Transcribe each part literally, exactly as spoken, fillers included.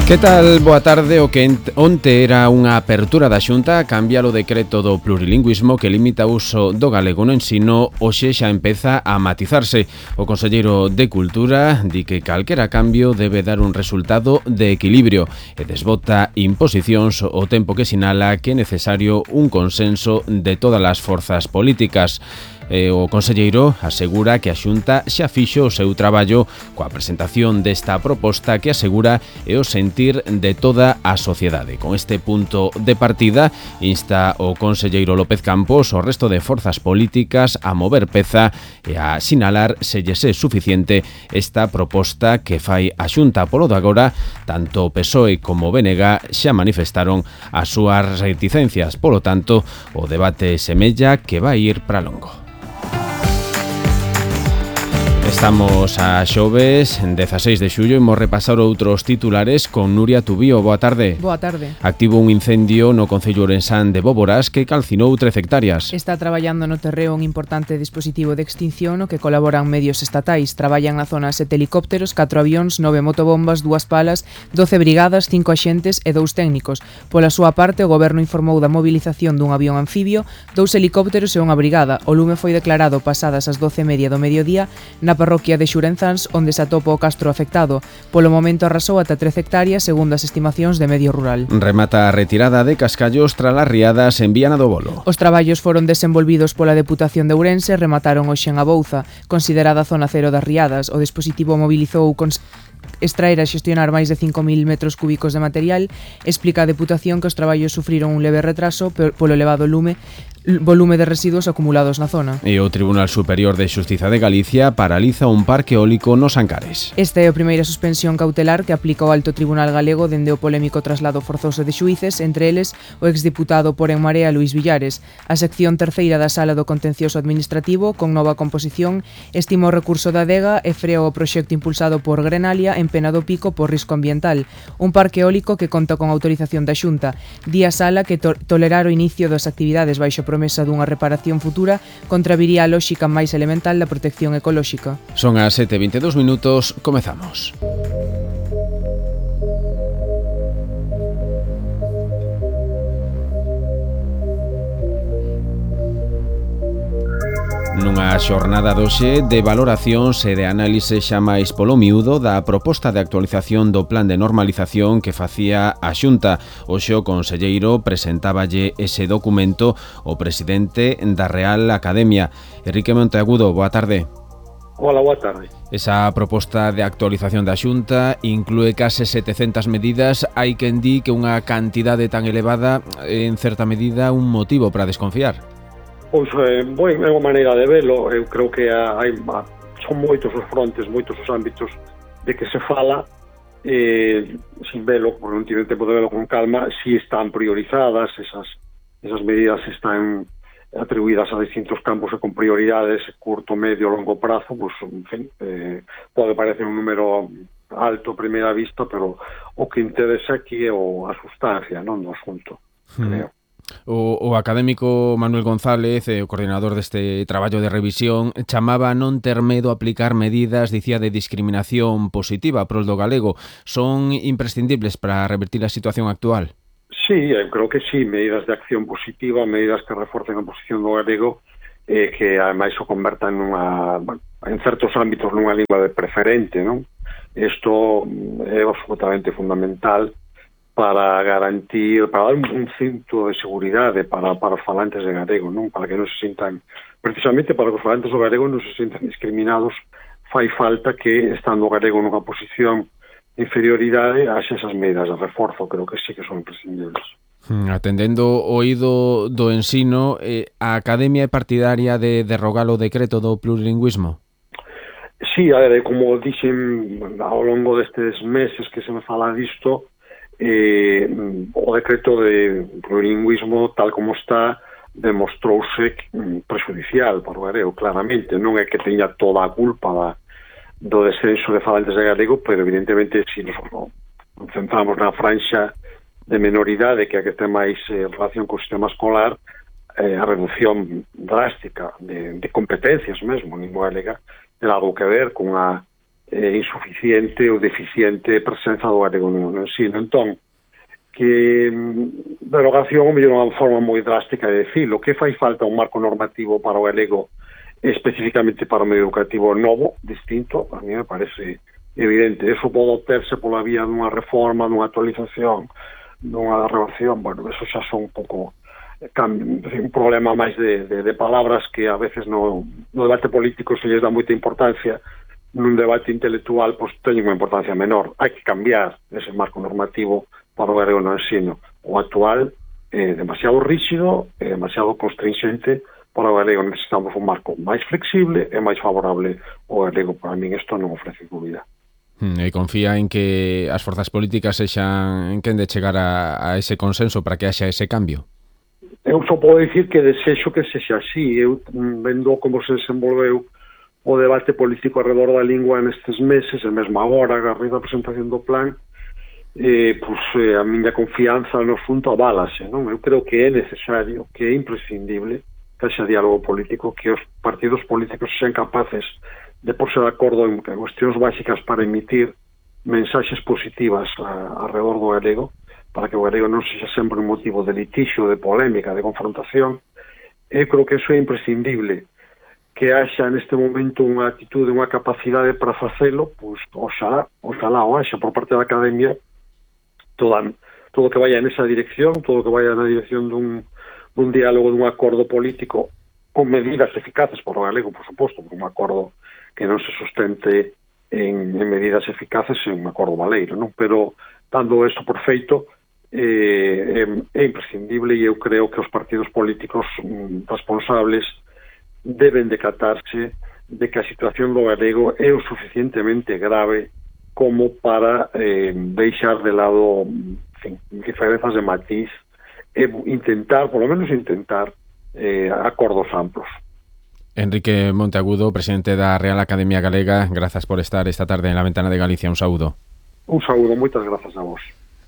Que tal? Boa tarde. O que onte era unha apertura da Xunta a cambiar o decreto do plurilingüismo que limita o uso do galego no ensino, hoxe xa empeza a matizarse. O conselleiro de Cultura di que calquera cambio debe dar un resultado de equilibrio e desbota imposicións o tempo que sinala que é necesario un consenso de todas as forzas políticas. E o conselleiro asegura que a Xunta xa fixo o seu traballo coa presentación desta proposta que asegura é o sentir de toda a sociedade. Con este punto de partida insta o conselleiro López Campos o resto de forzas políticas a mover peza e a sinalar se lles é suficiente esta proposta que fai a Xunta. Polo de agora, tanto o P S O E como o B N G xa manifestaron as súas reticencias. Polo tanto, o debate semella que vai ir para longo. Estamos a xoves, dezaseis de xullo, imos repasar outros titulares con Nuria Tubío. Boa tarde. Boa tarde. Activo un incendio no concello ourensán de Bóboras que calcinou trece hectáreas. Está traballando no terreo un importante dispositivo de extinción no que colaboran medios estatais. Traballan na zona sete helicópteros, catro avións, nove motobombas, dúas palas, doce brigadas, cinco axentes e dous técnicos. Pola súa parte, o goberno informou da mobilización dun avión anfibio, dous helicópteros e unha brigada. O lume foi declarado pasadas as doce e media do mediodía na parroquia de Xurenzáns, onde se atopa o castro afectado. Polo momento arrasou ata trece hectáreas, segundo as estimacións de Medio Rural. Remata a retirada de cascallos tras as riadas en Viana do Bolo. Os traballos foron desenvolvidos pola Deputación de Ourense e remataron hoxe en Abouza, considerada zona cero das riadas. O dispositivo mobilizou con extraer e xestionar máis de cinco mil metros cúbicos de material. Explica a Deputación que os traballos sufriron un leve retraso polo elevado lume volume de residuos acumulados na zona. E o Tribunal Superior de Xustiza de Galicia paraliza un parque eólico nos Ancares. Esta é a primeira suspensión cautelar que aplica o Alto Tribunal Galego dende o polémico traslado forzoso de xuíces, entre eles o exdiputado por En Marea Luís Villares. A sección terceira da Sala do Contencioso Administrativo, con nova composición, estimou o recurso da adega e freou o proxecto impulsado por Grenalia en Pena do Pico por risco ambiental. Un parque eólico que conta con autorización da Xunta. Di a Sala que to- tolerar o inicio das actividades baixo promesa dunha reparación futura contraviría a lóxica máis elemental da protección ecolóxica. Son as sete e vinte e dous minutos, comezamos. Nunha xornada doxe de valoracións e de análise xa máis polo miúdo da proposta de actualización do plan de normalización que facía a Xunta. Hoxe o conselleiro presentáballe ese documento o presidente da Real Academia. Enrique Monteagudo, boa tarde. Hola, boa tarde. Esa proposta de actualización da Xunta inclúe case setecentas medidas. Hai quen di que unha cantidade tan elevada é en certa medida un motivo para desconfiar. Pois, eh, bueno, é unha maneira de velo. Eu creo que hai, son moitos os frontes, moitos os ámbitos de que se fala, eh, sin velo, porque non tiven tempo de velo con calma, si están priorizadas, esas, esas medidas están atribuídas a distintos campos e con prioridades curto, medio, longo prazo. Pois, en fin, eh, pode parecer un número alto a primeira vista, pero o que interesa aquí é o, a sustancia, non, do asunto, hmm. creo. O, o académico Manuel González, o coordinador deste traballo de revisión, chamaba a non ter medo a aplicar medidas, dicía, de discriminación positiva pros do galego. Son imprescindibles para revertir a situación actual? Sí, eu creo que sí, medidas de acción positiva, medidas que reforcen a posición do galego, eh, que ademais o convertan nunha, bueno, en certos ámbitos nunha lingua de preferente, non? Isto é absolutamente fundamental para garantir, para dar un, un cinto de seguridade para, para os falantes de galego, non? Para que non se sintan, precisamente para que os falantes do galego non se sintan discriminados, fai falta que, estando o galego nunha posición de inferioridade, haxe esas medidas de reforzo. Creo que sí que son imprescindibles. Atendendo o oído do ensino, eh, a Academia é partidaria de derrogar o decreto do plurilingüismo? Sí, a ver, como dixen ao longo destes meses que se me fala disto, Eh, o decreto de plurilingüismo tal como está demostrouse prexudicial para o galego, claramente. Non é que teña toda a culpa da, do descenso de falantes de galego, pero evidentemente se nos concentramos na franxa de menoridade, que é a que ten máis eh, relación co sistema escolar, eh, a reducción drástica de, de competencias mesmo en lingua galega ten algo que ver con a eh, insuficiente ou deficiente presenza do galego no, no ensino. Entón, que mm, derogación é unha forma moi drástica de decirlo, que fai falta un marco normativo para o galego, especificamente para o medio educativo novo, distinto, a mí me parece evidente. Eso pode obterse pola vía dunha reforma, dunha actualización, dunha derogación. Bueno, eso xa son un pouco un problema máis de, de, de palabras que a veces no, no debate político se lles dá moita importancia. Nun debate intelectual pois teñen unha importancia menor. Hai que cambiar ese marco normativo para o galego no ensino. O actual é demasiado rígido, é demasiado constringente para o galego. Necesitamos un marco máis flexible e máis favorable ao galego. Para min isto non ofrece dúbida. E confía en que as forzas políticas sexan en quen de chegar a, a ese consenso para que haxa ese cambio? Eu só podo dicir que desexo que sexa así. Eu, vendo como se desenvolveu o debate político alrededor da lingua nestes meses, e mesmo agora, a raíz da presentación do plan, eh, pues, eh, a miña confianza no asunto aválase, non? Eu creo que é necesario, que é imprescindible que haxa diálogo político, que os partidos políticos sean capaces de porse de acordo en cuestións básicas para emitir mensaxes positivas a, alrededor do galego, para que o galego non sexa sempre un motivo de litixio, de polémica, de confrontación. Eu creo que iso é imprescindible. Que haxa neste momento unha actitude, unha capacidade para facelo, pois oxalá, oxalá o haxa por parte da academia, toda, todo que vaya nesa dirección, todo que vaya na dirección dun, dun diálogo, dun acordo político con medidas eficaces por o galego, por suposto, por un acordo que non se sustente en, en medidas eficaces en un acordo valeiro, non? Pero dando isto por feito, eh, é, é imprescindible, e eu creo que os partidos políticos mm, responsables deben decatarse de que a situación do galego é o suficientemente grave como para eh, deixar de lado, en fin, diferenzas de matiz e intentar, por lo menos intentar, eh, acordos amplos. Enrique Monteagudo, presidente da Real Academia Galega, grazas por estar esta tarde en La Ventana de Galicia. Un saúdo. Un saúdo, moitas grazas a vos.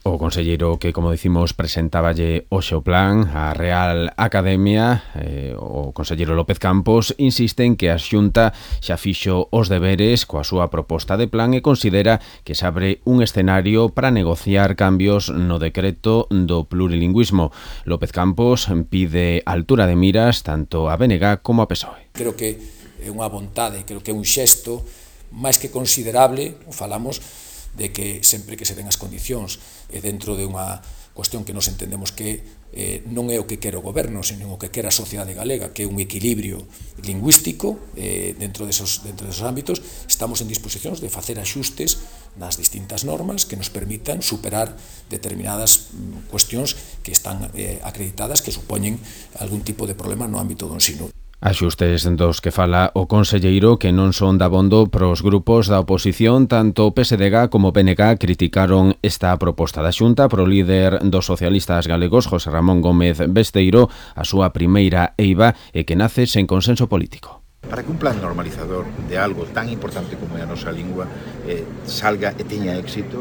O conselleiro que, como dicimos, presentáballe hoxe o plan a Real Academia, eh, o conselleiro López Campos, insiste en que a Xunta xa fixo os deberes coa súa proposta de plan e considera que se abre un escenario para negociar cambios no decreto do plurilingüismo. López Campos pide altura de miras tanto a B N G como a P S O E. Creo que é unha vontade, creo que é un xesto máis que considerable, falamos de que sempre que se den as condicións e dentro de unha cuestión que nos entendemos que eh, non é o que quere o goberno, sino o que quere a sociedade galega, que é un equilibrio lingüístico eh, dentro desos, dentro desos ámbitos, estamos en disposicións de facer axustes nas distintas normas que nos permitan superar determinadas mm, cuestións que están eh, acreditadas que supoñen algún tipo de problema no ámbito do ensino. Axustes dos que fala o conselleiro que non son dabondo pros grupos da oposición. Tanto o P S D G como o P N G criticaron esta proposta da Xunta. Pro líder dos socialistas galegos, José Ramón Gómez Besteiro, a súa primeira eiva é que nace sen consenso político. Para que un plan normalizador de algo tan importante como é a nosa lingua eh, salga e teña éxito,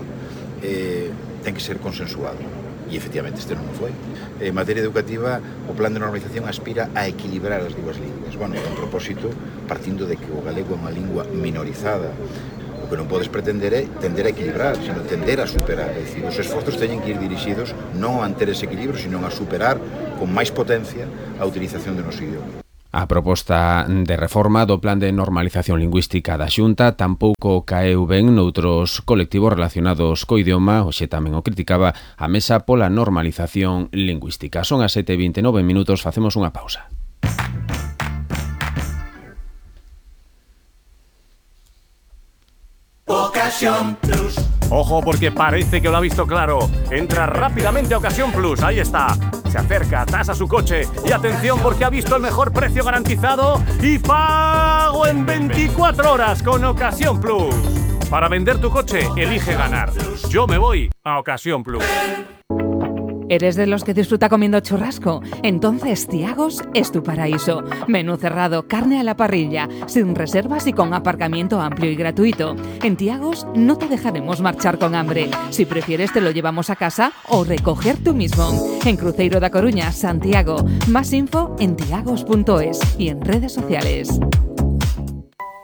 eh, ten que ser consensuado. E efectivamente este non foi. En materia educativa, o plan de normalización aspira a equilibrar as dúas linguas. Bueno, en propósito, partindo de que o galego é unha lingua minorizada, o que non podes pretender é tender a equilibrar, sino tender a superar. É dicir, os esforzos teñen que ir dirixidos non a manter ese equilibrio, sino a superar con máis potencia a utilización do noso idioma. A proposta de reforma do plan de normalización lingüística da Xunta tampouco caeu ben noutros colectivos relacionados co idioma. Hoxe tamén o criticaba a Mesa pola Normalización Lingüística. Son as sete e vinte e nove minutos, facemos unha pausa. Ocasión Plus. Ojo, porque parece que lo ha visto claro. Entra rápidamente a Ocasión Plus, ahí está. Se acerca, tasa su coche y atención porque ha visto el mejor precio garantizado y pago en veinticuatro horas con Ocasión Plus. Para vender tu coche, elige ganar. Yo me voy a Ocasión Plus. ¿Eres de los que disfruta comiendo churrasco? Entonces Thiagos es tu paraíso. Menú cerrado, carne a la parrilla, sin reservas y con aparcamiento amplio y gratuito. En Thiagos no te dejaremos marchar con hambre. Si prefieres te lo llevamos a casa o recoger tú mismo. En Cruzeiro da Coruña, Santiago. Más info en thiagos punto es y en redes sociales.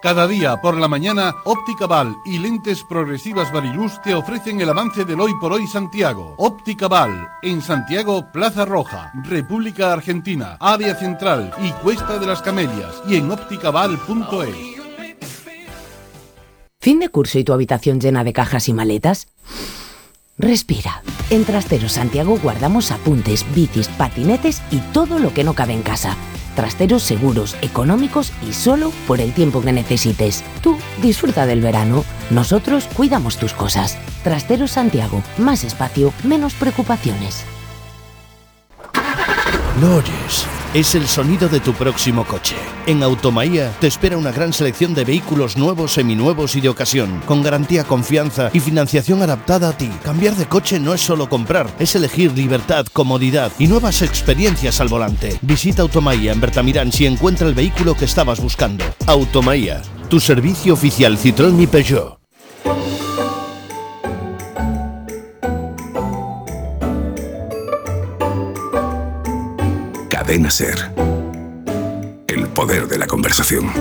Cada día por la mañana, Óptica Val y Lentes Progresivas Variluz te ofrecen el avance del Hoy por Hoy Santiago. Óptica Val, en Santiago, Plaza Roja, República Argentina, Área Central y Cuesta de las Camelias, y en ópticaval punto es. ¿Fin de curso y tu habitación llena de cajas y maletas? Respira. En Trasteros Santiago guardamos apuntes, bicis, patinetes y todo lo que no cabe en casa. Trasteros seguros, económicos y solo por el tiempo que necesites. Tú disfruta del verano. Nosotros cuidamos tus cosas. Trasteros Santiago. Más espacio, menos preocupaciones. ¿Lo oyes? Es el sonido de tu próximo coche. En Automaía te espera una gran selección de vehículos nuevos, seminuevos y de ocasión, con garantía, confianza y financiación adaptada a ti. Cambiar de coche no es solo comprar, es elegir libertad, comodidad y nuevas experiencias al volante. Visita Automaía en Bertamirán si encuentra el vehículo que estabas buscando. Automaía, tu servicio oficial Citroën y Peugeot. Cadena SER. El poder de la conversación.